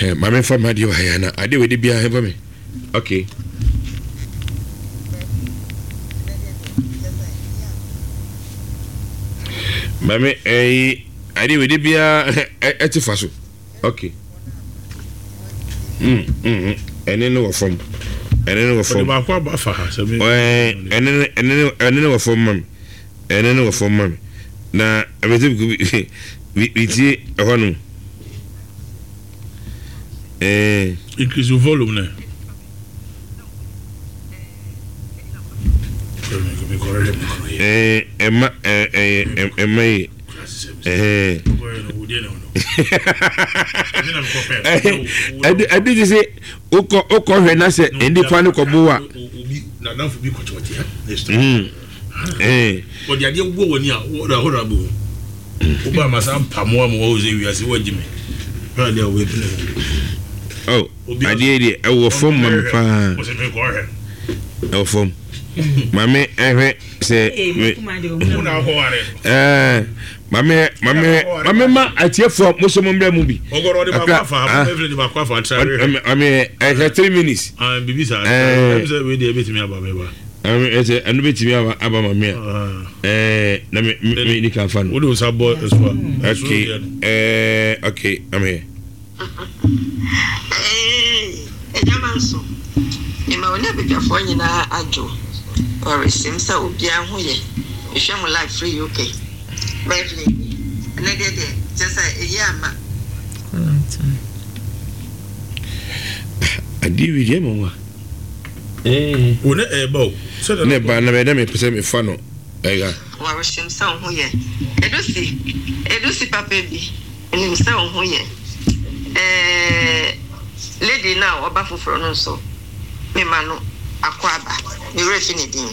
Maame nfa mi adeɛ wɔ ha yi ana adeɛ wɔ edi biara ɛnfa mi okay. Maame ɛyi adeɛ wɔ edi biara ɛte fa so okay. Mm mm ɛne no wɔ fam ɛne no wɔ fam. Ɔde baako aba fa ha sɛ mi. Ɛɛ ɛne no ɛne no ɛne no wɔ fam ma mi ɛne no wɔ fam ma mi na ɛbɛsɛ bi bi tie ɛhɔ nom. Eh. Increase your volume ne. Eh, ɛma eh, eh, ɛma yi. Eh. Ɛdi ɛdi ti sɛ okɔ okɔ hwɛ na sɛ nnipa no kɔ bo wa. Ɔde adeɛ wɔ w'ani a wɔda hɔ na abɛhu. Woba ama saa mpamoa ma wɔwɔ sɛ wiase wɔagye me. Hwɛ adeɛ a wɔbɛpene ho. Oh, adeɛ deɛ ɛwɔ fam ma me paa. Ɛwɔ fam. Maame ɛhwɛ sɛ. Ɛɛ maame maame maame ma atiefoɔ mo so mo mbrɛ mu bi. Akra ah maame ɛhwɛ 3 minutes. Bibi saa. Ɛɛ sɛ wei deɛ ebetumi aba meba. Ɛsɛ ɛno betumi aba aba ma me a ɛɛ na me me ni kan fa no. Wode nsa bɔ ɛso a. Okay ɛɛ okay I'm here. Eeii Agya Manso, mema wo ne abadwafoɔ nyinaa adwo Ɔresem sɛ obiara ho yɛ Mehwɛ mo live firi UK Beverly nie Ɛnɛ deɛ deɛ kyerɛ sɛ ɛyi ama. Adeɛ wei deɛ ɛma wa. Wo ne ɛɛba o. Sɛ na ɛba na bɛyɛ dɛ mepɛ sɛ mefa no ɛga. Warehyem sɛ wo ho yɛ. Edusi, Edusi papa bi, menim sɛ wo ho yɛ. Eh, lady no a ɔba foforɔ no nso, mema no akwaaba, me werɛ fi ne din.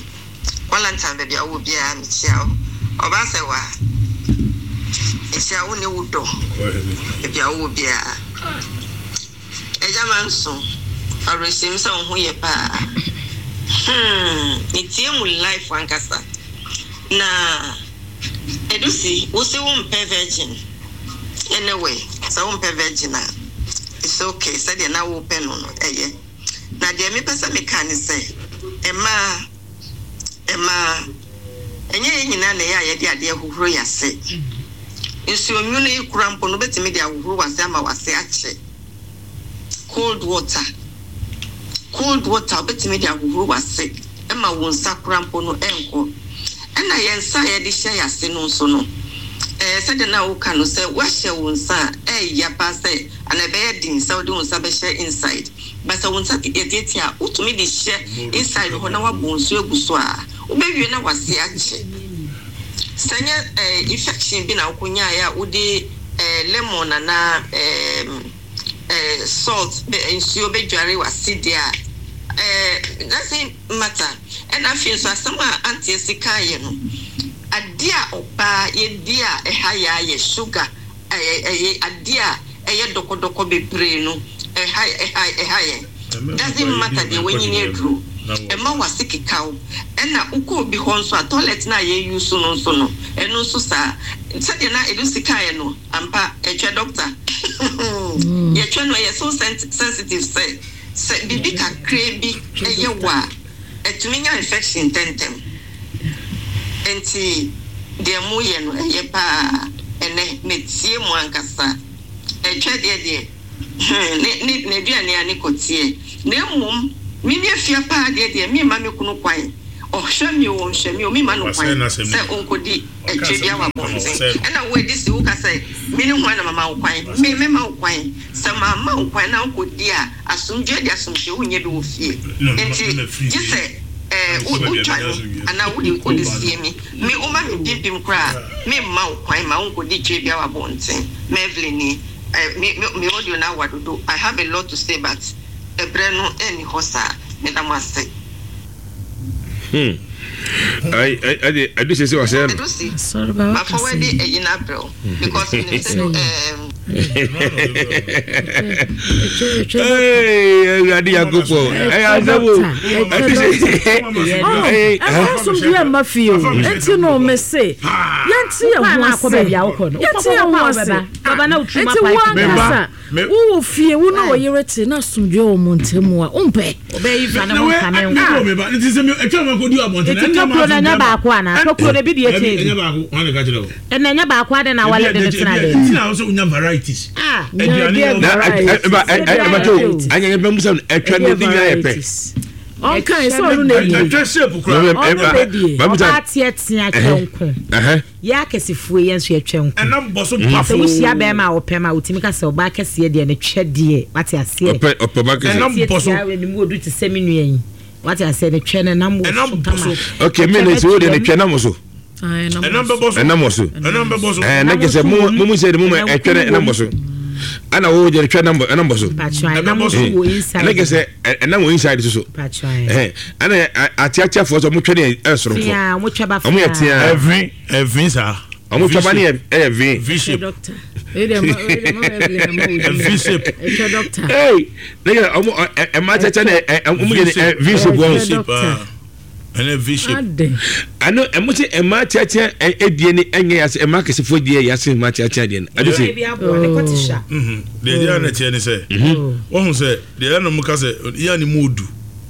Valentine baabi a wowɔ biara mekyia wo. Ɔbaa sɛ wa, mekyia wo ne wo dɔ baabi a wowɔ biara. Agya Manso, awerɛhyɛmu sɛ wo ho yɛ paa. Hmm, metie mu life ankasa. Na Edusi, wo se wo mpɛ virgin. Anyway, sɛ wo mpɛ virgin a, it's okay, sɛdeɛ na wo pɛ no no, ɛyɛ. Na deɛ mepɛ sɛ meka ne sɛ, mmaa, mmaa, ɛnyɛ yɛn nyinaa na ɛyɛ a yɛde adeɛ hohoro yɛn ase. Nsuo nwunu yi koraa mpo no, wobɛtumi de ahohoro w'ase ama w'ase akye. Cold water, cold water wobɛtumi de ahohoro w'ase ma wo nsa koraa mpo no ɛnkɔ. Ɛna yɛn nsa a yɛde hyɛ yɛn ase no nso no, ɛɛ sɛdeɛ na woka no sɛ woahyɛ wo nsa a, ɛyɛ paa sɛ anaa ɛbɛyɛ den sɛ wode wo nsa bɛhyɛ inside. But sɛ wo nsa yɛ tiatia a, wotumi de hyɛ inside hɔ na woabɔ nsuo agu so a, wobɛwie na w'ase akye. Sɛ ɛnyɛ eh, infection bi na wokɔnyaeɛ a wode eh, lemon anaa eh, eh, salt bɛ, nsuo bɛdware w'ase deɛ a, eh, doesn't matter. Ɛna afei nso asɛm a Auntie Asi kaeɛ no, adeɛ a ɔbaa yɛdi a ɛha yɛ ara yɛ sugar. Ɛyɛ ɛyɛ adeɛ a ɛyɛ dɔkɔdɔkɔ bebree no ɛha ɛha ɛha yɛn. Doesn't matter deɛ wanyini aduro. Ɛma w'ase keka wo. Ɛna wokɔ obi hɔ nso a toilet no a yɛ use no nso no ɛno nso saa. Sɛdeɛ na Edusy kaeɛ no ampa ɛtwɛ doctor. Yɛtwɛ no ɛyɛ so sensitive sɛ sɛ biribi kakraa bi ɛyɛ wo a ɛtumi nya infection ntɛntɛm. Enti deɛ moyɛ no ɛyɛ paa ɛnɛ metie mo ankasa ɛtwɛ deɛ deɛ hmm ne ne n'aduane a ne kɔteɛ na mmom me ne afia paa deɛ deɛ memma me kunu kwan ɔhwɛ me o ɔnhwɛ me o memma no kwan sɛ ɔnkɔdi ɛtwɛ bia wɔ abɔnten ɛna wo adi si woka sɛ me ne hwan na mama wo kwan me mɛma wo kwan sɛ mamma wo kwan na wokɔdi a Asomdwoeɛ de asomdwoeɛ wonnya bi wɔ fie nti gye sɛ eh, wo wotwa no anaa wode wode sie me. Me woma me mpempem koraa a memma wo kwan ma wonkɔdi twa biara wɔ abɔnten. Mervlyn ni eh, me me me audio no awa dodo I have a lot to say but ɛberɛ no ɛnni hɔ saa. Meda mo ase. Hmm. Ai ai ade ade sese wasɛ no. Edu si. Asɔre ba Ma waka forward sɛ. eyi na abrɛ wo because menim sɛ do ɛɛm. Hey, Awurade Nyankopɔn. Ɛyɛ asɛm o. Ade sese. Hey, Ɛmfa asomdwoeɛ mma fie o. Enti no mese yɛnte yɛn ho ase. Yɛnte yɛn ho ase. Enti wo ankasa. Wowɔ fie, wo ne wo yere te na asomdwoeɛ wɔ mo ntam a, wompɛ? Ɔbɛyi fa ne ho nkame nko. Nti tokuro no ɛnyɛ baako anaa? Tokuro no ebi deɛ kyɛn bi. Ɛna ɛnyɛ baako adɛn na awale de no tena dɛm? Ah. Ɔnka sɛ ɔno na ɛdie. Ɔno na ɛdie. Ɔbaa teatea twɛ nko. Yɛ akɛsefoɔ yi, yɛn nso yɛtwɛ nko. Ɛnam bɔ so Sɛ pafoo. wohyia bɛrima a ɔpɛ ma a, wotumi ka sɛ ɔbaa kɛseɛ deɛ ne twɛ deɛ, wate aseɛ. Ɔpɛ ɔpɛ ɔbaa kɛseɛ. Ɛnam bɔ so. Tiatia ne mu odu te sɛ me nua yi, wate aseɛ, ne twɛ no ɛnam wɔ so Ɛnam bɔ kama. so. Okay, me ne sɛ wo deɛ ne twɛ nam wɔ so. Ɛnam bɛbɔ so. Ɛnam wɔ so. Ɛnam bɛbɔ so. Ɛɛ ne kɛsɛ mo mo mu sɛ de mo ma ɛtwɛ no ɛnam wɔ so. Ɛna wo deɛ ne twɛ nam ɛnam bɔ so. Mpakyɛ ɛnam Ɛbɛbɔ so. nso wɔ inside. Ne kɛsɛ ɛnam wɔ inside soso. Mpakyɛ. Ɛhɛn ɛna ateateafoɔ sɛ ɔmo twɛ ne ɛyɛ soronko. Tea, ɔmo twɛ ba Ɔmo yɛ tea. Ɛvi ɛvi saa. Ɔmo twɛ ba ne yɛ ɛyɛ v. V shape. Doctor. Wei deɛ ma- wei deɛ ma Evelyn ama wo din. V shape. Ɛtwɛ doctor. Ee ne kɛ ɔmo ɛ ɛma ateatea ne ɛ ɔmo yɛ ne ɛ v shape wɔn. V shape. ah. Ɛnɛ V shape. Adɛn? Ano ɛmo sɛ ɛma ateatea ɛ ɛdie ne ɛnyɛ yase ɛma akɛsefoɔ deɛ yase ɛma ateatea deɛ no. Ade sɛ. Ebi aboa ne kɔte hwa. Mhm. Deɛ ɛyɛ na ɛteɛ ne sɛ, wɔhu sɛ deɛ ɛna mo ka sɛ yɛ ne mu odu.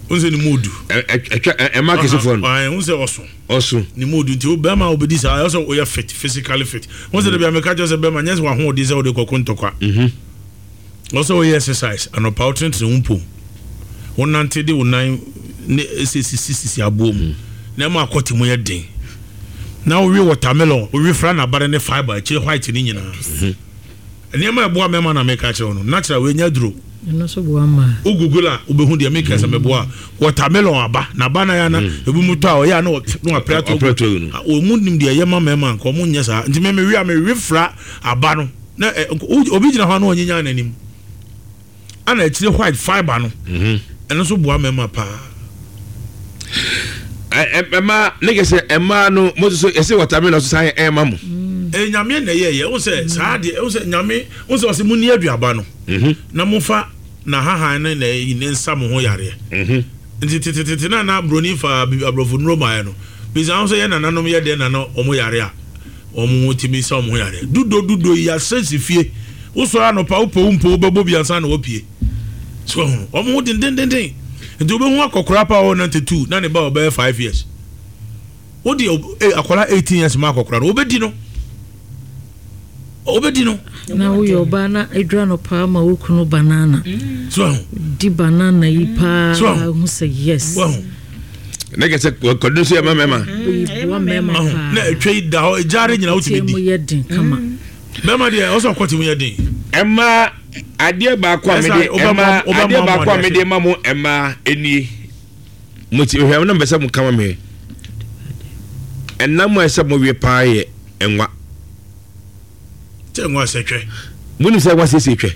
Wɔn sɛ ne mu odu. Ɛ ɛ ɛtwa ɛ ɛma akɛsefoɔ no. Wɔn sɛ ɔso. Ɔso. Ne mu odu nti wo bɛrima a wobɛdi saa ɛwɔ sɛ woyɛ fit physically fit. Wɔn sɛ dabi ameka kyerɛ sɛ bɛrima nyɛ sɛ wahoɔden sɛ wode kɔko ntɔkwa. Ɛwɔ sɛ woyɛ exercise anɔpa wotenetene wo mpom. Wonante de wo nan ne ɛsɛ sisi sisi aboɔ mu na ɛma akɔte mu yɛ den. Na wowe watermelon wowe fra n'abare ne fibre akyire white ne nyinaa. Nneɛma a ɛboa mmarima na meka kyerɛ wo no, natural wei nyɛ aduro. Ɛno nso boa mmaa. Wo google a wobɛhu deɛ meka sɛ meboa. Watermelon aba, n'aba na yɛ ana ebi mu tɔ a ɔyɛ a na wapere ato agu. Wɔn mu nim deɛ ɛyɛ ma mmarima nka wɔn nyɛ saa. Nti me mewe a mewe fra aba no na obi gyina hɔ a na ɔnyinya n'anim. Ana akyire white fibre no ɛno nso boa mmarima paa. Ɛma ne kɛ sɛ ɛmaa no mo nso ɛsɛ watermelon so saa yɛ ɛma mo. Ɛyɛ nyame na ɛyɛ yɛ ɛwɔ sɛ saa deɛ ɛwɔ sɛ nyame ɛwɔ sɛ ɔsɛ mo ni aduaba no na mo fa na hahan ne na ɛyi ne nsa mo ho yareɛ nti tetetete na na broni fa aborɔfo nnuro maayɛ no bisa ho sɛ yɛ nananom yɛ deɛ na na wɔn yare a wɔn ho tumi sa wɔn ho yareɛ dudo dudo yi asɛ si fie wosɔre anɔpa wopɛ wo mpo wobɛbɔ bi ansa na wapue so ɛho wɔn ho dendendenden nti wobɛhu akɔkora pa ɔwɔ 92 na ne ba ɔbɛyɛ 5 years Wo deɛ eh, akwadaa 18 years ma akɔkora no wobɛdi no wobɛdi no. Na woyɛ ɔbaa na adwira no paa ma wo kunu banana. So ahu. Di banana yi paa So ahu. hu sɛ yes. Wahu. Ne kɛ sɛ kɔdu nso yɛ ma mɛma. Boa mɛma paa. Na atwa yi da hɔ egyaare nyina wotumi di. Mu yɛ den kama. Bɛrima deɛ ɔsɛ ɔkɔte mu yɛ den. Ɛma adeɛ baako a mede ɛma adeɛ baako a mede ma mo ɛma enie. Mo ti hwɛ na mbɛsɛ mo kama me. Ɛnam a ɛsɛ mo we paa yɛ nwa. Sɛ nwa sɛ twɛ. Mo nim sɛ nwa siesie twɛ.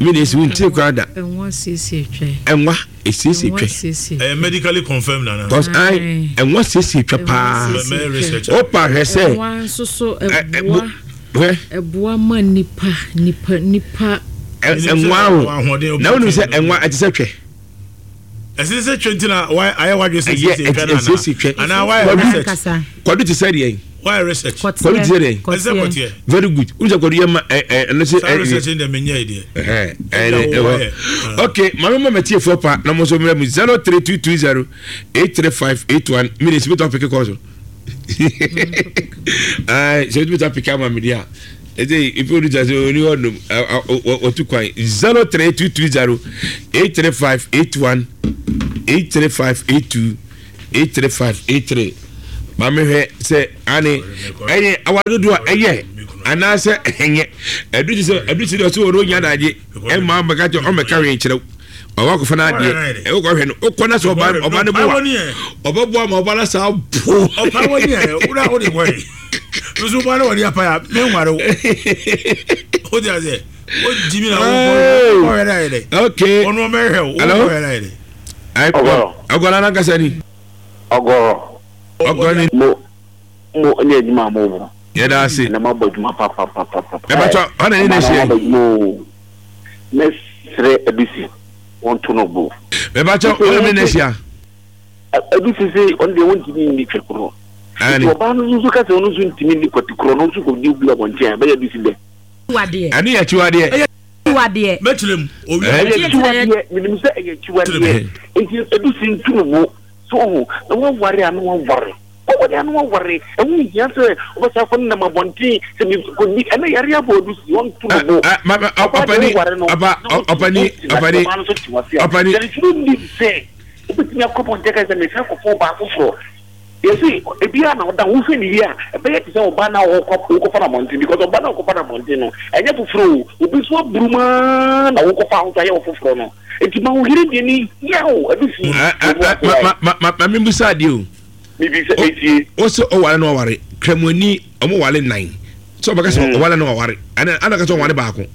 Mi na esi wo ntiri koraa da. Nwa siesie twɛ. Nwa esiesie twɛ. Ɛyɛ medically confirmed nana. Cause I nwa siesie twɛ paa. Mɛ research. Opa hwɛ sɛ. Nwa nso so ɛboa. Hwɛ. Ɛboa ma nipa nipa nipa. Nwa o. Na wo nim sɛ nwa ɛte sɛ twɛ. Ɛsɛ sɛ twɛ nti na ayɛ wadwe sɛ siesie twɛ no anaa? Twɛ. Anaa wayɛ research. Kwadu te sɛ deɛ. Wayɛ research. Kwadu te sɛ deɛ. Ɛsɛ kɔteɛ. Very good. N sɛ kwadu yɛ ma ɛ ɛ ɛno sɛ. Saa research ni deɛ menyɛ yi deɛ. Ɛhɛn ɛyɛ ɛwɔ. Ok maame ma mɛtie fo pa na mo nso mmerɛ mu 03220 835 81 minutes bi tɔ peke kɔɔ so. Ayi sɛ bi tɔ peke ama mi di a. Ɛsɛ ife olu sase oni hɔ nom wɔtu kwan 03220 835 81 835 82 835 83 maame hwɛ sɛ ane ɛyɛ awa dodoɔ a ɛyɛ anaasɛ ɛnyɛ ɛdu ti sɛ ɛdu ti sɛ ɔsɛ wɔn onya adagye ɛma ɔmɛka kyɛ ɔmɛka hwee kyerɛw ɔwɔ akɔfa no adeɛ ɛwɔ kɔhwɛ no wokɔ na sɛ ɔba ɔba no boa ɔbɛboa ma ɔba no saa po ɔpa wɔ ni ɛ wura wo de kɔ yi nso ɔba no wɔ ni apa ya me nware wo o ti ase o jimi na wo kɔ hwɛ na yɛ dɛ okay ɔno ɔmɛ hwɛ wo kɔ hwɛ na yɛ dɛ ɔgɔrɔ ɔgɔrɔ anankasa ni ɔgɔrɔ ɔgɔrɔ ni mo mo ne adwuma a mo bɔ yɛda ase na mo abɔ adwuma papapapapa ɛbɛtɔ ɔna ne na ɛhyɛ mo abɔ adwuma o Mɛsrɛ Adusi wɔnto no bo. Mepakyɛw wo ne me na ahyia. Adusi se ɔno deɛ wɔntumi nni twɛ korɔ. Nti ɔbaa no nso ka sɛ ɔno nso ntumi nni kwati korɔ no nso kɔdi obi abɔnten a ɛbɛyɛ Adusi dɛ. Ɛno yɛ akyiwadeɛ. akyiwadeɛ. Mɛkyerɛ mu. Owia. Ɛyɛ akyiwadeɛ. Menim sɛ ɛyɛ akyiwadeɛ. Nti edu si ntu no bo. So ohu, na waware a na waware. Waware a na waware. Ɛho nhia sɛ wobɛsan akɔ nenam abɔnten sɛ mekɔdi. Ɛnɛ yare abɔ adu si, ɔnto no bo. Ɔbaa deɛ woware no, na wote na ɔbaa no nso te wase a, there is no need sɛ wobɛtumi akɔ abɔnten aka sɛ mesan akɔfa ɔbaa foforɔ. Yɛse ebiara na ɔda ho, wohwɛ no yie a, ɛbɛyɛ te sɛ ɔbaa no a wokɔfa no abɔnten because ɔbaa no a wokɔfa no abɔnten no, ɛnyɛ foforɔ o, obi nso aburum ara na wokɔfa wo nso ayɛ wo foforɔ no. Nti ma wo yere deɛ ne hia o, ɛde fi wɔn ase ayɛ. Ma ma ma mebisa adeɛ o. Mebisa etie. O sɛ ɔware na ɔware, Kramoni ɔmo ware nan. Sɛ ɔbɛka sɛ ɔware na ɔware, ɛna ɛna ka sɛ ɔware baako.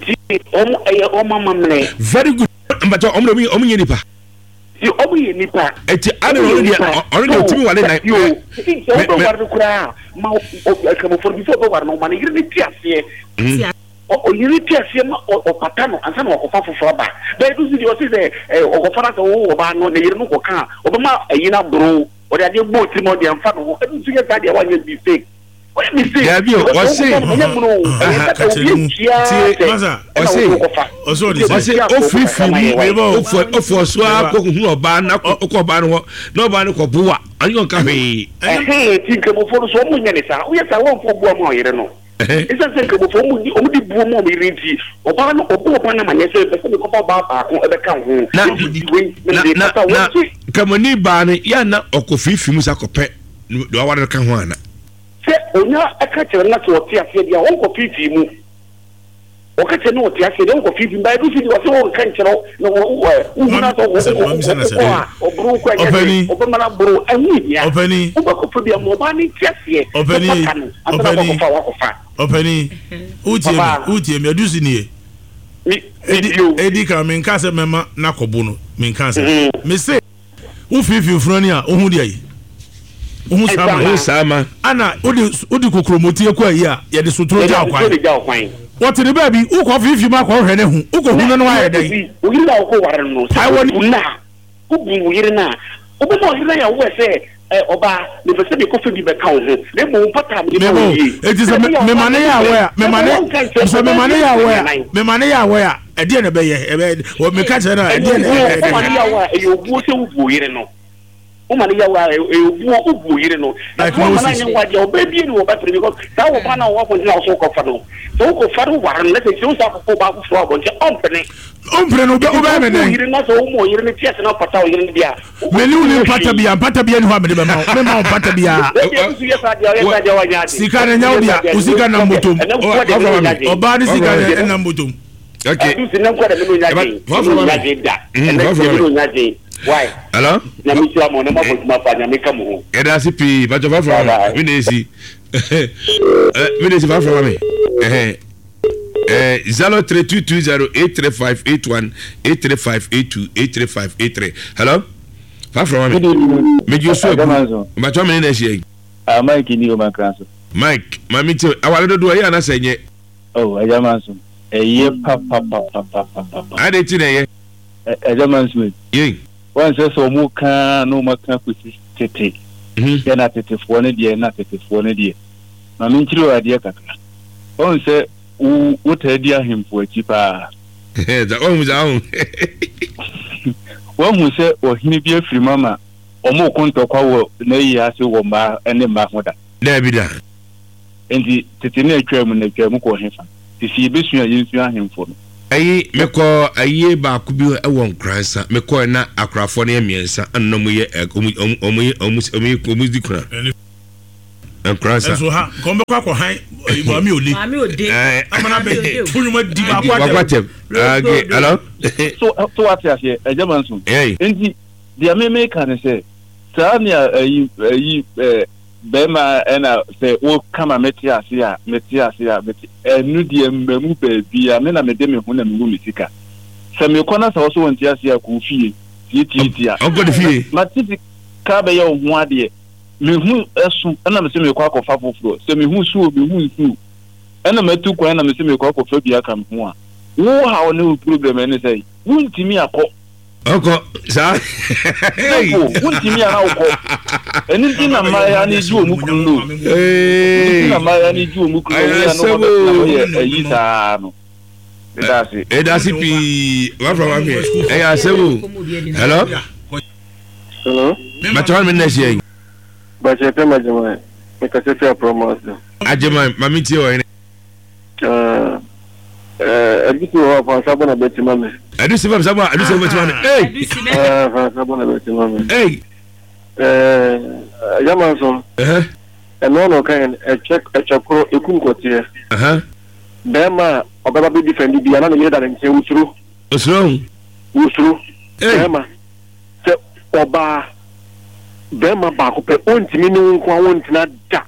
Ti ɔmo ɛyɛ ɔmo amammerɛ. Very good. Mpakyɛ ɔmo de ɔmo nyɛ nipa. Ti ɔmo yɛ nipa. Eti ana ɔno deɛ ɔno deɛ otumi ware nan. Yo, nti sɛ ɔbɛware no koraa ma Kramofo no before ɔbɛware no ɔma ne yere no te aseɛ. Ɔyere te aseɛ ma ɔpata no ansa na wakɔfa foforɔ aba. Bɛyɛ no nso deɛ ɔse sɛ ɔkɔfa no asɛ ɔwo ɔbaa no ne yere no kɔka a ɔbɛma ayi no aboro ɔde adeɛ bɔ tirim a ɔde amfa ne ho. Ɛno nso yɛ saa deɛ wanyɛ mistake. Wayɛ mistake Daabi o, because ɔse wokɔfa no ɛnyɛ mono o ɛyɛ sɛ obi atua tie sɛ ɛna ɔse wode wokɔfa. Ɔse ɔde Nti sɛ. ɔse abusua akɔ mu ofirifiri kakra ma mu yɛ wae. Meba o. ofɔ ofɔ so ara Meba. kɔ hunu ɔbaa no akɔ ɔkɔ ɔbaa no hɔ na ɔbaa no kɔ boa ɔne ɔnka hwee. Ɛhɛn nti nkramofoɔ no so ɔmo nyɛ ne saa. Woyɛ saa wɔmfa obu ama ɔyere no. Esiane sɛ Nkramofo wɔn di wɔn di buo ma wɔn yere nti, ɔbaa no ɔbɔ ɔbaa no amaneɛ sɛ mepɛ sɛ mekɔfa ɔbaa baako bɛka wo ho, Na enti di wei na na mede na pata wo na nti. Nkramoni baa no yɛ a na ɔkɔ fiifii mu sa kɔpɛ deɛ waware no ka ho ana? Sɛ onya ka kyerɛ no na sɛ ɔte aseɛ deɛ a ɔnkɔ fiifii mu. Wɔka kyerɛ no ɔte aseɛ deɛ ɔnkɔ fiifii mu but ɛno nso deɛ ɔse ɔnka nkyerɛ wo na wohu no asɛ wokɔ a ɔboro wo kɔ ɛnyɛ hwee ɔbɛma no aboro wo ɛho nhia wobɛkɔfa bi ama ɔbaa no nte aseɛ na pata no ansa na wakɔfa wakɔfa. Ɔpani wotie me wotie me adusi nie edi kan menka sɛ mɛma n'akɔbo no menka sɛ mese. Wo finfin funu ani a, wohu deɛ yi? Wohu saa ma? Wohu saa ma? Ana wode wode kokromoti kɔ ayi a, yɛde sotoro gya kwan. Wɔte ne baabi, wokɔ finfin mu akɔhwɛ ne ho, wokɔ hu no no ayɛ dɛn? Wo yere na wokɔ ware no, sɛ wobu no a, wobu wo yere no a, wobɛma ɔyere no ayɛ aware sɛ ɔbaa, mepɛ sɛ mekɔfa bi bɛka wo ho, na mmom mpata a mede ma wo nie. Eti sɛ mema ne yɛ aware a, mema ne sɛ mema ne yɛ aware a, mema ne yɛ aware a, ɛdeɛ na ɛbɛyɛ ɛbɛyɛ wɔ meka kyerɛ no a ɛdeɛ na ɛbɛyɛ. Woma ne yaw a ɛyɛ obuo sɛ wobu oyere no woma ne yaw a ɛyɛ obuo wobu oyere no na sɛ wama no anyɛ wo adeɛ ɔbaa bie ne wɔbɛpere because saa wɔ baa no a wɔwɔ abɔnten a wɔso wokɔfa no sɛ wokɔfa no ware no na sɛ kyerɛ wo sɛ akɔkɔ ɔbaa foforɔ abɔnten ɔmpene ɔmpene no wobɛyɛ me dɛn yere na sɛ woma ɔyere no te ase na ɔpata ɔyere no deɛ a mene wo ne mpata bia mpata bia ni hɔ a mede bɛma wo mema wo mpata biara sika no nyɛ wo dea wo sika nam bɔtɔm ɔbaa ne sika no ɛnam bɔtɔm Okay. Adu si ne nkɔ dɛ mene onya den. Mene onya den da. Ɛnɛ deɛ mene onya den. Why? Hello? Nyame nhyira mo na mo abɔ adwuma pa. Nyame ka mo ho. Yɛda ase pii. Bàtɔ fa fura ma mi. Mi na esi. Mi na esi fa fura ma mi. 03220 835 81 835 82 835 83. Hello? Fa fura ma mi. Mi ji osu ebu. Bàtɔ mi na esi yɛ. Ah Mike ni o ma kran so. Mike, maame ti awale dodo ɛyɛ anasɛ nyɛ. Oh Agya Manso, ɛyɛ papapapapapapa. Adɛn nti na ɛyɛ? Agya Manso ei. Yei. Wansɛ sɛ ɔmo ka ara na ɔmo aka akosi tete. Yɛ na tetefoɔ no deɛ na tetefoɔ no deɛ. Ma me nkyerɛ wo adeɛ kakra. Wahu sɛ wo wo taa di ahemfo akyi paa. Wahu saa ho. Wahu sɛ ɔhene bi afiri mu ama ɔmo reko ntɔkwa wɔ n'ayi ase wɔ mmaa ne mma ho da? Daabi da. Enti tete no a etwaa mu no, etwaa mu kɔɔ hefa? Te sɛ yebesua a, yensua ahemfo no. Ayi, mekɔɔ ayie baako bi wɔ Nkoransa. Mekɔɔɛ na akorafoɔ no yɛ mmiɛnsa ɛna na wɔn yɛ ɛ wɔn wɔn wɔn yɛ wɔn wɔn yɛ wɔn di kuna. Nkoransa. Ɛnso ha, nka wɔn bɛkɔ akɔ han Maame Ode. Maame Ode. Ɛɛ. Amana bɛ to nnwuma di baako atɛm. Baako atɛm. Okay, hello. So so wate aseɛ, Agya Manson. Hey. Enti deɛ me meka ne sɛ, saa nea ayi ayi ɛɛ. Bɛɛma ɛna sɛ wo ka ma mete ase a mete ase a mete ɛno deɛ mmamu baabia me na mede me ho na mewu me sika sɛ mekɔ na sɛ wo so wo nte ase a kɔ wo fie tiatiatia Ɔnkɔ ne fie. mate sika bɛyɛ wo ho adeɛ me ho ɛso ɛna mese mekɔ akɔfa foforɔ sɛ me ho su o me ho nsu o ɛna matu kwan na mese mekɔ akɔfa bi aka me ho a wo haw ne wo problem ɛne sɛ wontumi akɔ Ɔkɔ saa. Simple, wontumi a na wokɔ. Ɛno nti na mmaayewa no gye wɔn kunu no. Ɛno nti na mmaayewa no gye wɔn kunu no. Wɔyɛ na wɔbɛtena hɔ yɛ ayi saa no. Meda ase. Ɛda ase pii. Wafra wa hwɛ. Ɛyɛ asɛm o. Hello. Hello. Bàtà wọn mi nna ɛhyɛ yi. Bàtà ɛfɛ ma gyama mi kasa fi aprɔmɔ ase. Agyema maame tie wɔ hene. Ɛdu si wɔ hɔ a fansa bɔ na bɛti ma mi. Ɛdu si fansa bɔ a ɛdu si bɛti ma mi. Ee. Fansa bɔ na bɛti ma mi. Ee. Ɛɛ yama nso. Ɛno na ɔka yɛn ɛkyɛ ɛkyɛ koro ekum kɔteɛ. Bɛrima a ɔbɛba bɛ defend bi a na ne yere da ne nkyɛn wosuro. Osuro. Wosuro. Bɛrima sɛ ɔbaa bɛrima baako pɛ ontumi ne wo nko a wontena da.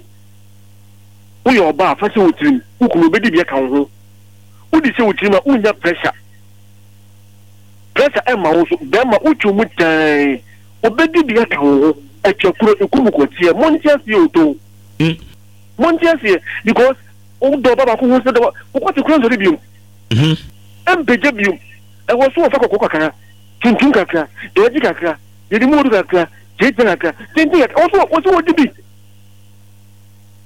Woyɛ ɔbaa fa hyɛ wo tirim wo kunu obedi bi aka wo ho. Wode hyɛ wo tirim a wonnya pressure. Pressure ɛmma wo so. Bɛrima wotwe mu dan obedi bi aka wo ho. Ɛtwa kuro ekum kɔteɛ. Monte aseɛ o too. Monte aseɛ because wodɔ ɔba baako ho sɛ dɔ wokɔte kura nsɔre biom. Ɛmpagya biom. Ɛwɔ so wɔfa kɔkɔɔ kakra, tuntum kakra, dɛɛgye kakra, yɛde mu odu kakra, tietia kakra, tenten kakra. Ɛwɔ so wɔ sɛ wɔdi bi.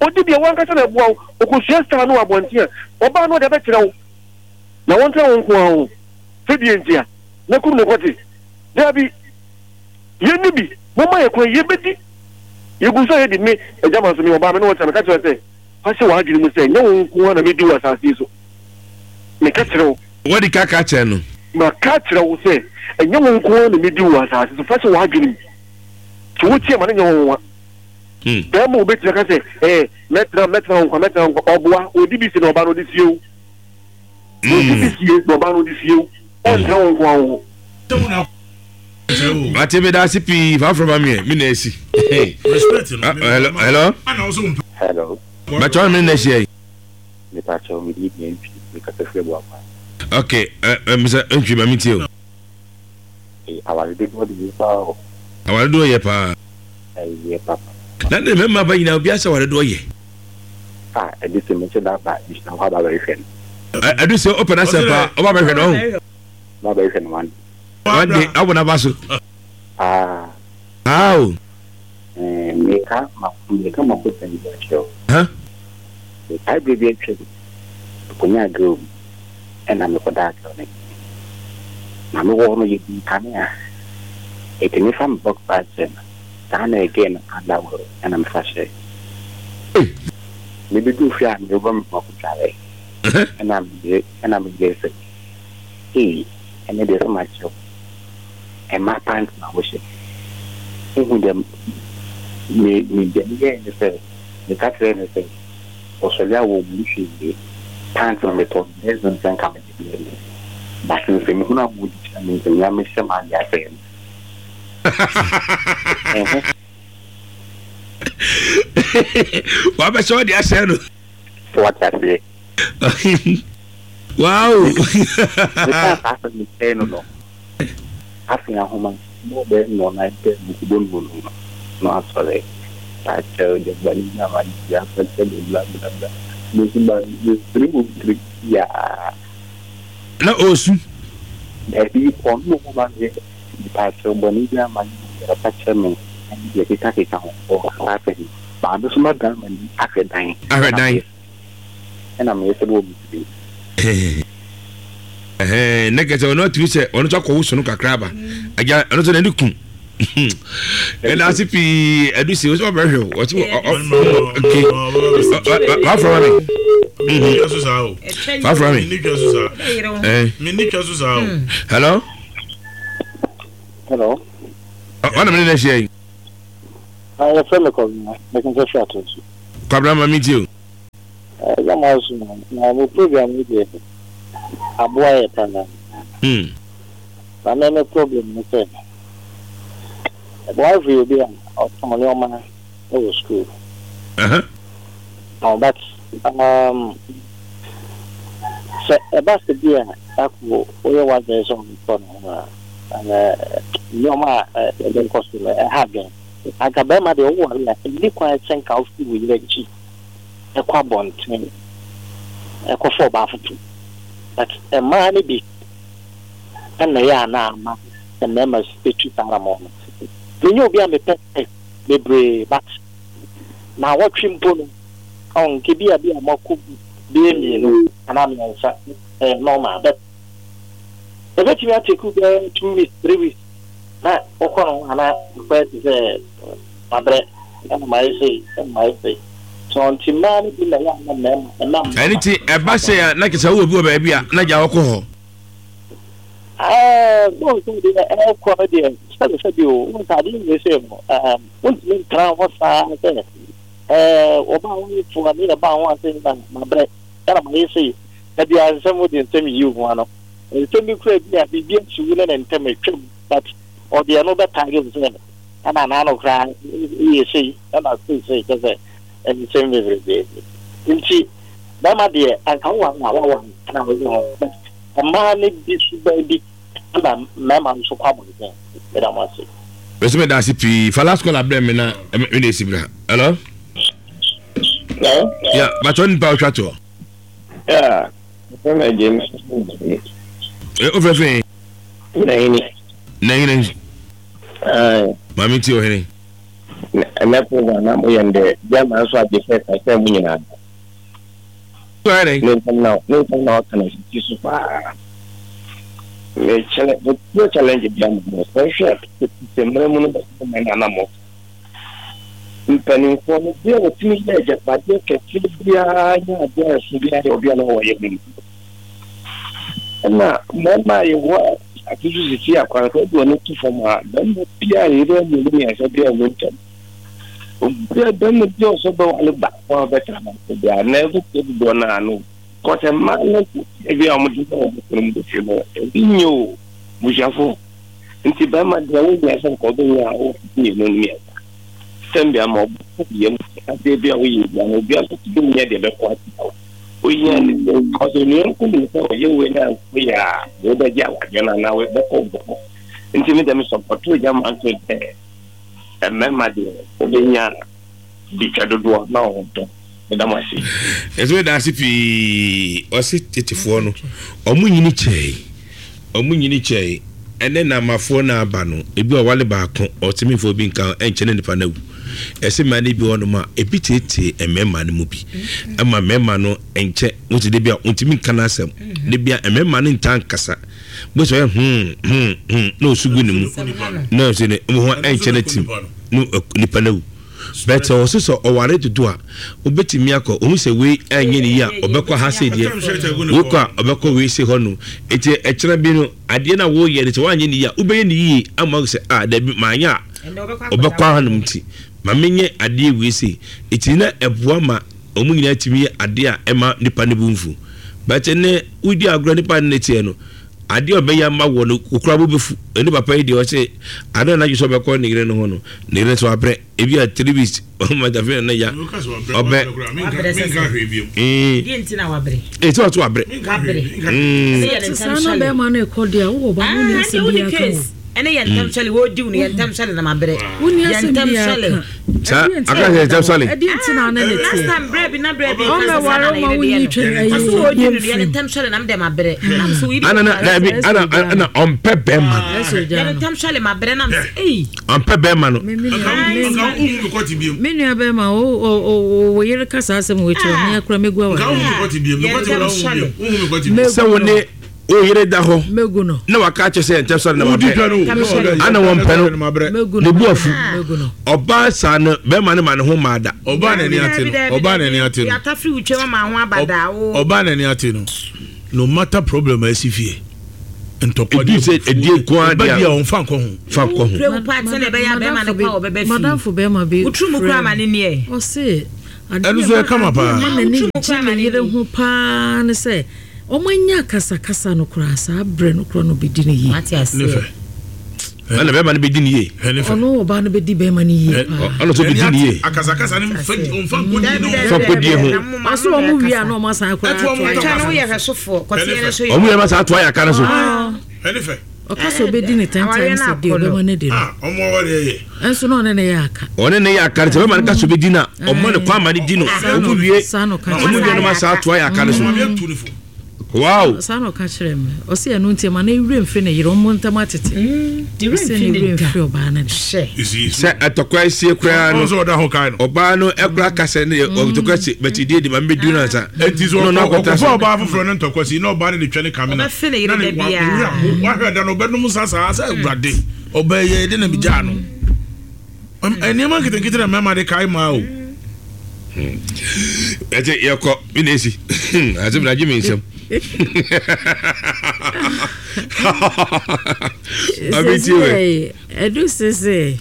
Odi bi a wankasa na ɛboa wo. Okosua style no wɔ abɔnten a, ɔbaa no ɔde abɛkyerɛ wo. Na wɔntra wo nko ara ho. Sɛ deɛ nti a, na kum no kɔte. Daabi. Yɛnni bi. Momma yɛ kwan, yɛbɛdi. Yɛgu so a yɛdi. Me, agya ma nso, meyɛ ɔbaa, me ne wo tena. Meka kyerɛ sɛ, fa hyɛ w'adwene mu sɛ, nyɛ wo nko ara na medi wɔ asase yi so. Meka kyerɛ wo. Wadi ka ka kyerɛ no. Maka akyerɛ wo sɛ, ɛnyɛ wo nko ara na medi wɔ asase so. Fa hyɛ w'adwene mu. Sɛ wotie a, ma no nyɛ wo nwonwa. Bɛrima a obetumi aka sɛ, Ee, mɛtena, mɛtena wo nkwa, mɛtena wo nkwa. Ɔboa, odi bi sie na ɔba no ɔde sie wo. Odi bi sie na ɔba no ɔde sie wo. Ɔntena wo nko ara wo ho. Mate me da ase pii fa afro ma me me na asi. Hello hello. Hello. Bàtchɛ ɔne me na ahyia yi. Mepakyɛw me din de Antwi me kasa firi Abuakwa. Okay, ɛ ɛ misa Antwi ma me tie o. Aware dodoɔ de yɛ paa o. Aware dodoɔ yɛ paa. Ɛyɛ papa. Na ne mmarima ba nyinaa obiara sɛ aware dodoɔ yɛ. Ah ɛde sɛ mehyɛ da ba gyina hɔ aba bɛhwehwɛ no. Ɛde sɛ ɔpɛ n'asɛm paa ɔba bɛhwɛ no ɔho. Ɔba bɛhwehwɛ no one. One day abɔ n'aba so. Paa. Paa o. Ɛɛ meka ma meka ma kosɛm bi akyerɛ wo. Huh? Mekae berɛ bi atwam mekɔnyaa girl bi ɛna mekɔdaa girl no nkyɛn. Na mewɔ hɔ no yɛdii kanea. Enti mefa me boxer hyɛ no saa na girl no underwear ɛna mefa hyɛɛ. Mebɛduu fie a merebɔ me ho akɔdware ɛna meyere ɛna meyere sɛ ei ɛnɛ deɛ sɛ makyerɛ wo mmaa pant na wohyɛ. Wohu deɛ me me deɛ meyɛɛ ne sɛ meka kyerɛɛ no sɛ ɔsɔre a wɔnni hwee pant no metɔ no dozen sɛ nka mede brɛ no but nsɛmhunu a wɔdi kyerɛ me nti mea mehyɛ m'adeɛ asɛe no. Ɛho. Wabɛhyɛ ɔde asɛe no. So wate aseɛ? Wow! Mekaa saa asɛm no kyerɛɛ no no, afei ahoma bɔɔ bɛyɛ nnɔnnan pɛ mekɔbɔ no no no asɔre. Pakyɛw deɛ bɔne bi a mayɛ biara fa kyɛ me bla bla bla. Me nso ma mesere wɔ me tirim yaa. Na ɔresu? Dabi, ɔno na ɔbɔ ma meyɛ mepakyɛw bɔne bi a mayɛ biara fa kyɛ me ɛne deɛ ɛkekakeka ho. Ɔka saa asɛm no, maame nso madan m'ani ahwɛ dan. Ahwɛ dan. Ɛna meyɛ sɛ bɔ me tirim. Ɛhɛn, na kɛsɛ ɔno atumi sɛ ɔno nso akɔwo sono kakra aba. Agya, ɔno nso n'ani kum. Ɛna ase pii ɛdu si ɔsɛ ɔbɛhwɛ o, ɔsɛ ɔke wafra ma me. Wafra me. Hello. Hello. Ɔna mi ne na ahyia yi. Yɛfrɛ me Kwabena, mekasa firi Atonsu. Kwabena ma me tie o. Ɛda mo ase o, na mo program yi deɛ aboa yɛ paa. Na me me problem ne sɛ, me wife yɛ obi a ɔtɔn nneɛma wɔ school. Oh, but um, sɛ ɛba sɛ bi a dako woyɛ w'adwene sɛ ɔbɛtɔ ne ho a, nneɛma a ɛbɛkɔ so no ɛha adwene. Anka bɛrima deɛ woware a, ɛnni kwan sɛ nka wofiri wo yere akyi kɔ abɔnten kɔfa ɔbaa foforɔ. But mmaa no bi na ɛyɛ a na ama mmarima tu saa anamɔn no. Menyɛ obi a mepɛ sex bebree but naawɔtwe mpo no, ɔn nka bi a bi a moakɔ bɛyɛ mmienu anaa mmiɛnsa. Ɛyɛ normal but ɛbɛtumi atake wo bɛyɛ 2 weeks, 3 weeks na wokɔ no ho a na akɔyɛ te sɛ mabrɛ ɛna mayɛ sei ɛna mayɛ sei. So nti mmaa no bi na ɛyɛ a na mmarima ɛma Ɛno mmarima nti ɛba sɛ a na kyerɛ sɛ wowɔ bi wɔ baabi a na gya wɔkɔ hɔ. Ɛɛ bɔɔl sɛ deɛ ɛrekɔ no deɛ sɛbi sɛbi o wohu sɛ adeɛ wei sei no ɛɛm wontumi ntena hɔ saa sɛ ɛɛ ɔbaa wɔyɛ fo a meyɛ baa ho ase na mabrɛ ɛna mayɛ sei da biara nsɛm wode nsɛm yiyi wo ho ano nsɛm bi kura bi a biribi asi wo ne ne ntɛm atwam but ɔde ɛno bɛtaage wo sɛ ɛna n'ano koraa yɛ sei ɛna sei sei kyɛ sɛ nsɛm bebrebe nti bɛrima deɛ anka woware a waware ɛna woyɛ ho but mmaa no bi suban bi ɛna mmarima nso kɔ abɔnten. Meda mo ase. Mese meda ase pii. Fa last caller brɛ me na me na esi bra. Hello? Hello? Yeah, but on nipa otwa to. Yeah. Fẹ́ mi jẹ́ mi. Eh, o fẹ́ fẹ́. Nahini. Nahini. Aye. Maame ti ohene. Ɛnɛ program na mo yɛ ndɛ gyama nso agye fɛ sɛ mo nyinaa. Ne nsɛm na ne nsɛm na ɔka no sisi so paa. Me challenge me pure challenge bi ama mo. Sɛ hwɛ tete mmerɛ mu no bɛsɛ mɛ na na mo. Mpanimfoɔ no bi a wɔtumi yɛ agyapadeɛ kɛseɛ biara nyɛ adeɛ a ɛso biara yɛ obi a na ɔwɔ yɛ mu. Ɛna mmarima a yɛwɔ ase so sisi akwan sɛ wode ɔno to fam a barima biara yere mmienu mmiɛnsa biara mu ntɛm. Obiara bɛrima bi a ɔsɛ ɔbɛware baako a ɔbɛtra baako biara na ɛbɛkyɛ dodoɔ no ano. Kɔsɛ mmaa no ebi a wɔde bɔ wɔn kunu mu bɛfie no ebi nyɛ o busuafo nti bɛrima deɛ wonya sɛ nka ɔbɛnya a wɔ mmienu no mmiɛnsa sɛm bi ama ɔbɛkɔ yam adeɛ bi a woyɛ bia no obiara nso tumi nyɛ deɛ bɛkɔ atia wo woyɛ ne sɛ ɔsɛ onua nko nim sɛ ɔyɛ wei na nkɔ yɛ a wobɛgye awadeɛ no anaa wobɛkɔ bɔkɔ nti me dɛm sɔpɔto gya ma nso dɛ Mmarima deɛ wobɛnya bi twa dodoɔ na wɔn tɔ. Meda mo ase. Yɛsɛ meda ase pii. Ɔse tetefoɔ no ɔmo nyini kyɛe. Ɔmo nyini kyɛe. Ɛnɛ namafoɔ no aba no ebi ɔwale baako ɔse memfa obi nka ho ɛnkyɛ na nipa no awu. Ɛse mmaa no bi wɔ hɔnom a ebi teetee mmarima no mu bi ɛma mmarima no nkyɛ wote de bi a ontumi nka n'asɛm de bi a mmarima no ntaa nkasa. Bó sɛ ɔyɛ hmm hmm hmm na osu gu ne mu na ɔsɛ ne ho ɛnkyɛ ne tim no nipa no awu. But sɛ ɔsɛ sɛ ɔware dodo a wobɛtumi akɔ ohun sɛ wei ɛnyɛ ne yie a ɔbɛkɔ ha sei deɛ wei kɔ a ɔbɛkɔ wei sei hɔ no eti ɛkyerɛ bi no adeɛ no a wɔyɛ no sɛ wanyɛ ne yie a wobɛyɛ ne yie ama sɛ a dabi maanyɛ a ɔbɛkɔ hanom nti ma menyɛ adeɛ wei sei eti na ɛboa ma wɔn nyinaa tumi yɛ adeɛ a ɛma nipa no bo mfu. But ɛnɛ wodi agorɔ nipa no ne teɛ no adeɛ a ɔbɛyɛ ama wɔ no okura bo bɛfu. Ɛne papa yi deɛ ɔse adeɛ a n'adwe sɛ ɔbɛkɔ ne yere no ho no ne yere nso wabrɛ ebi a 3 weeks ɔma dafe na ya ɔbɛ. Ɛsɛ ɔso wabrɛ. Saa na bɛrima no ɛkɔ deɛ wowɔ ba no ne asɛm bi aka o. Ɛne yɛ ntɛm sɔle wɔdi wo no yɛ ntɛm sɔle na mabrɛ. Wonni asɛm biara ka. Saa aka sɛ ntɛm sɔle. Ɛdeɛ nti na ne ne teɛ. Last time brɛ bi na brɛ bi kasa saa na ne yere deɛ no. Ɔsɛ wɔdi no yɛ ntɛm sɔle na mdɛ mabrɛ. Nam so yi. Ana na dabi ana ana ɔmpɛ bɛrima no. Yɛ ntɛm sɔle mabrɛ nam sɛ ei. Ɔmpɛ bɛrima no. Me nua bɛrima o o o yere kasa asɛm wɔ akyire me akora megu aware. Sɛ wo ne wo yere da hɔ na waka akyɛ sɛ ntɛm sɔre na mapɛ ana wɔmpɛ no ne bu afu ɔbaa saa no bɛrima no ma ne ho maa da. Ɔbaa n'ani ate no ɔbaa n'ani ate no ɔbaa n'ani ate no no matter problem a ɛsi fie ntɔkwa di sɛ ɛdi nko ara deɛ a ɔnfa nkɔ ho fa nkɔ ho. Madamfo bɛrima bi frɛ me ɔse ɛno nso ɛkama paa adeɛ ma n'ani gye ne yere ho paa ne sɛ Wɔanya akasakasa no koraa, saa berɛ no koraa na ɔbɛdi no yie. Wate aseɛ. Ne fɛ. Ɛna bɛrima no bɛdi no yie. Hwɛ ne fɛ. Ɔno ɔbaa no bɛdi bɛrima no yie paa. Ɔno nso bɛdi no yie. Akasakasa no mfa ɔmfa nkɔdie no. Fa nkɔdie ho. Ɔso wɔn wie a na wɔn asan akɔ ato ayɛ. Ɛtwa no woyɛ hwɛsofoɔ. Kɔteɛ no so yɛ. Wɔn yɛ ma saa ato ayɛ aka no so. Hwɛ ne fɛ. Ɔka sɛ ɔbɛdi ne 10 times a day ɔbɛma no adi no. Ɔmo awareɛ yɛ. Ɛnso na ɔne ne yɛ aka. Ɔne ne yɛ aka no sɛ bɛma no ka sɛ ɔbɛdi no a ɔma no kwan ma no di no. Ɔmo wie ɔmo wie no ma saa ato ayɛ aka no so. Wow! Saa na ɔka kyerɛɛ me. Ɔse ɛno nti ɛma ne werɛ mfiri ne yere, wɔn ntam atete. Mm, ne werɛ Ɔse ne mfiri ne werɛ da. mfiri ɔbaa no da. Hyɛ. Sɛ ɛtɔkwa asie koraa no, Ɔno nso ɔda ho kae no. ɔbaa no ɛkora kasa ne ɔtɔkwa si bɛti die di ma mbɛdu no ansa. Eti so No, no, akɔtena ɔkɔfa so. ɔbaa foforɔ ne ntɔkwa si na ɔbaa no de twɛ ne kame na Ɔbɛfe ne yere na ne da wa- biara. ne werɛ aho. Wahwɛ da no ɔbɛnom nsa saa sɛ awurade ɔbaa yi de na megyaa no. Nneɛma nketenkete na mmarima de kae maa o. Ɛsɛ yɛkɔ me na esi asɛm na agye me nsɛm. Ɛdu sese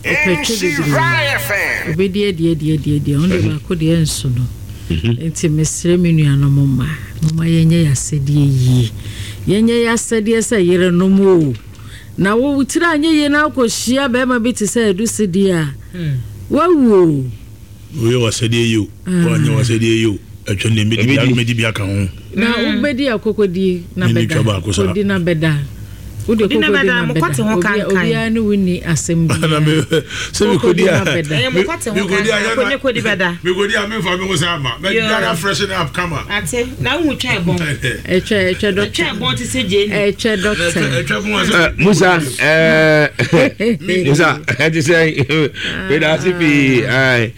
ɔpɛ twɛ bebree obɛdi adi adi adi adi ɔno de baako deɛ nso no nti mesrɛ me nuanom mma moma yɛnyɛ yɛ asɛdeɛ yie yɛnyɛ yɛ asɛdeɛ sɛ yerenom o. Na wo tiri anyɛ yie na wokɔhyia barima bi te sɛ Adusi deɛ a, woawu o. Woyɛ w'asɛdeɛ yie o, woanyɛ w'asɛdeɛ yie o, atwa nea mɛdi bi mɛdi bi aka ho. Na wobɛdi akɔkɔdi na bɛda, kɔdi na bɛda. Wode Kɔdi na kɔkɔdi bɛda, na mo kɔte bɛda. ho kankan. Obiara ne wo nni asɛm biara. Sɛ mekɔdi Kɔkɔdi a, na bɛda. Ɛyɛ mo kɔte ho mekɔdi a kankan, yɛ kɔ ne kɔdi bɛda. mekɔdi a memfa me ho sɛ ama, mɛdware afreshen up kama. Ate, na wohu twɛn bɔn. Ɛtwɛ ɛtwɛ dɔkta. Ɛtwɛn bɔn te sɛ gyeene. Ɛtwɛ dɔkta. Ɛtwɛ bɔn sɛ. Musa ɛɛ Musa ɛte sɛ meda ase pii ɛɛ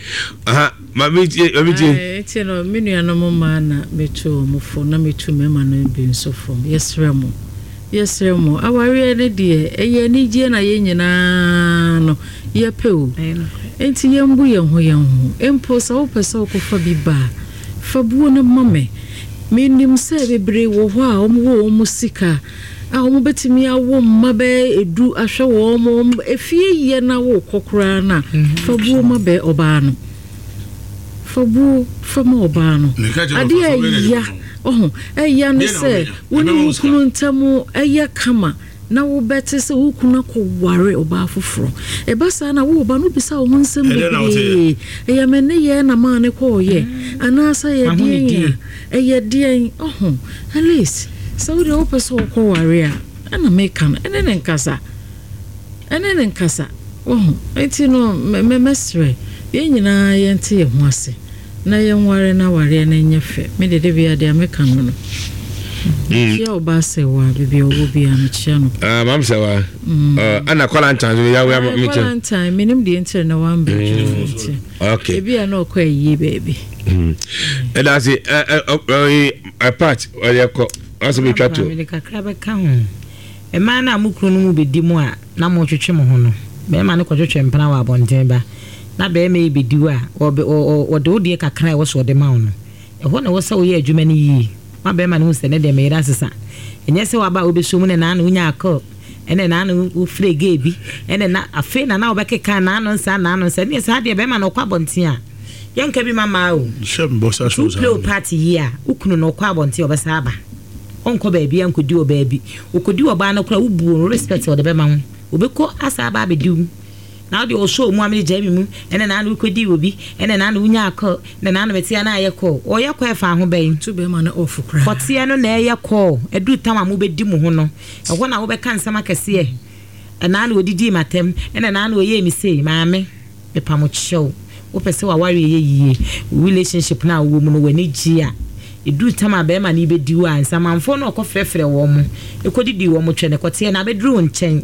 aha maame tie maame tie. Nti no me nuanom mmaa na metu wɔn fo na metu mmarima no bi nso fo yɛsrɛ mo yɛsrɛ mo awareɛ no deɛ ɛyɛ anigyeɛ na yɛn nyinaa no yɛpɛ o nti yɛmbu yɛn ho yɛn ho mpo sɛ wopɛ sɛ wokɔfa bi ba a Fa buo no ma me. Menim sɛ bebree wɔ hɔ a wɔwɔ wɔn sika a wɔbɛtumi awo mma bɛyɛ du ahwɛ wɔn, wɔn efie yɛ na wokɔ koraa no a, fa buo ma bɛ ɔbaa no. Fa buo fa ma ɔbaa no. Adeɛ a ɛya, ɔho, ɛya ne sɛ wo ne wo kunu ntam ɛyɛ kama. Na wobɛte sɛ wo kunu akɔware ɔbaa foforɔ. Ɛba saa na wo ɔba no wobisa wo ho nsɛm bebree. Ɛyɛ me nneyɛɛ na maa no kɔɔyɛ? Anaasɛ ɛyɛ deɛn a? Ɛyɛ deɛn? Ɔho, at least sɛ wo deɛ wopɛ sɛ wokɔware a, ɛna meka no, ɛne no nkasa. Ɛne no nkasa. Wahu? Enti no, mɛsrɛ, yɛn nyinaa yɛnte yɛn ho ase. Na yɛnware na awareɛ no nyɛ fɛ. Me deɛ da biara deɛ meka no no. Mekyia ɔbaa Sɛwa baabi a ɔwɔ biara mekyia no. Ah, maam Sɛwa. Ɛna Kwalantan so ya ya mekyia. Kwalantan menim deɛ nti na wamba nti. Okay. Ebi a na ɔkɔ ayie baabi. Ɛda ase ɛ ɛ ɛ part ɔyɛ kɔ asɛm etwa to. Mede kakra bɛka ho. Mmaa no a mo kunu no mu bɛdi mo a na motwetwe mo ho no, barima no kɔtwetwe mpena wɔ abɔnten ba, na barima yi bɛdi wo a, ɔbɛ, ɔ, ɔ, ɔde wo deɛ kakra a ɛwɔ sɛ ɔde ma wo no. Ɛhɔ na ɛwɔ sɛ woyɛ adwuma no yie ma barima no hu sɛ, Ɛnnɛ deɛ me yere asesa. Ɛnyɛ sɛ waba a wobɛsɔ mu na naano wonyaa call, ɛnna naano wofrɛɛ gay bi, ɛnna na, afei na na wobɛkeka naano nsa, naano nsa. Ɛnneɛ saa deɛ barima no ɔkɔ abɔnten a, yɛnka bi ma mmaa o. Hyɛ me bɔ sa Nti so wo saa. play wo part yie a, wo kunu no ɔkɔ abɔnten a, ɔbɛsan aba. Ɔnkɔ baabiara nkɔdi ɔbaa bi. Ɔkɔdi ɔbaa no koraa a, wobu no respect a ɔde bɛma wo. Ɔbɛkɔ asan aba abɛdi wo. Na wo deɛ ɔsɔɔ mu a mede gyae me mu. Ɛna naano wokɔdii obi. Ɛna naano wonyaa call. Ɛna naano meteɛ a na ayɛ call. Ɔyɛ call ɛfa ho bɛn? Tu bɛrima no off koraa. Kɔteɛ no na ɛyɛ call. Ɛduru tam a mobɛdi mo ho no, ɛhɔ na wobɛka nsɛm akɛseɛ. Ɛnaano ɔdidii m'atɛm. Ɛna naano ɔyɛɛ me sei. Maame. Mepamo kyɛw, wopɛ sɛ w'awareɛ yɛ yie, wo relationship no a wowɔ mu no w'ani gye a, ɛduru tam a bɛrima no rebɛdi wo a, nsamanfoɔ no a ɔkɔfrɛfrɛ wɔn, kɔdidi wɔn twɛ no, kɔteɛ no abɛduru wo nkyɛn.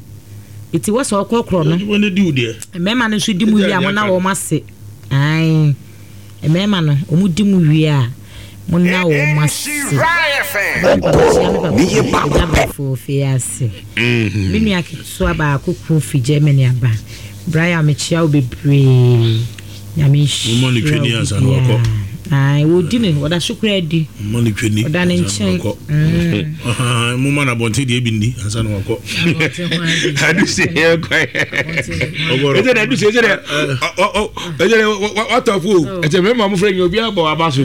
Ɛti wɔ sɛ ɔkorɔkorɔ no, mmarima no nso di mu wie a mona wɔn ase. Ae. Mmarima no, wɔn di mu wie a, mo nna wɔn ase. Mekyia me papa Agya Brafo Ofei ase. Me nua ketewa baako kunu fi Germany aba. Brian mekyia wo bebree. Nyame nhyira wo biribiara. Ae, wɔdi no, wɔda so koraa di. Ɔda ne nkyɛn. Moma no abɔnten deɛ bi nni ansa na wakɔ. Aduse yɛ kwan. Ɛsɛ dɛ aduse ɛsɛ dɛ ɛsɛ dɛ watɔ fo o. Ɛsɛ mɛma mo fɛ nyɛ obi abɔ aba so.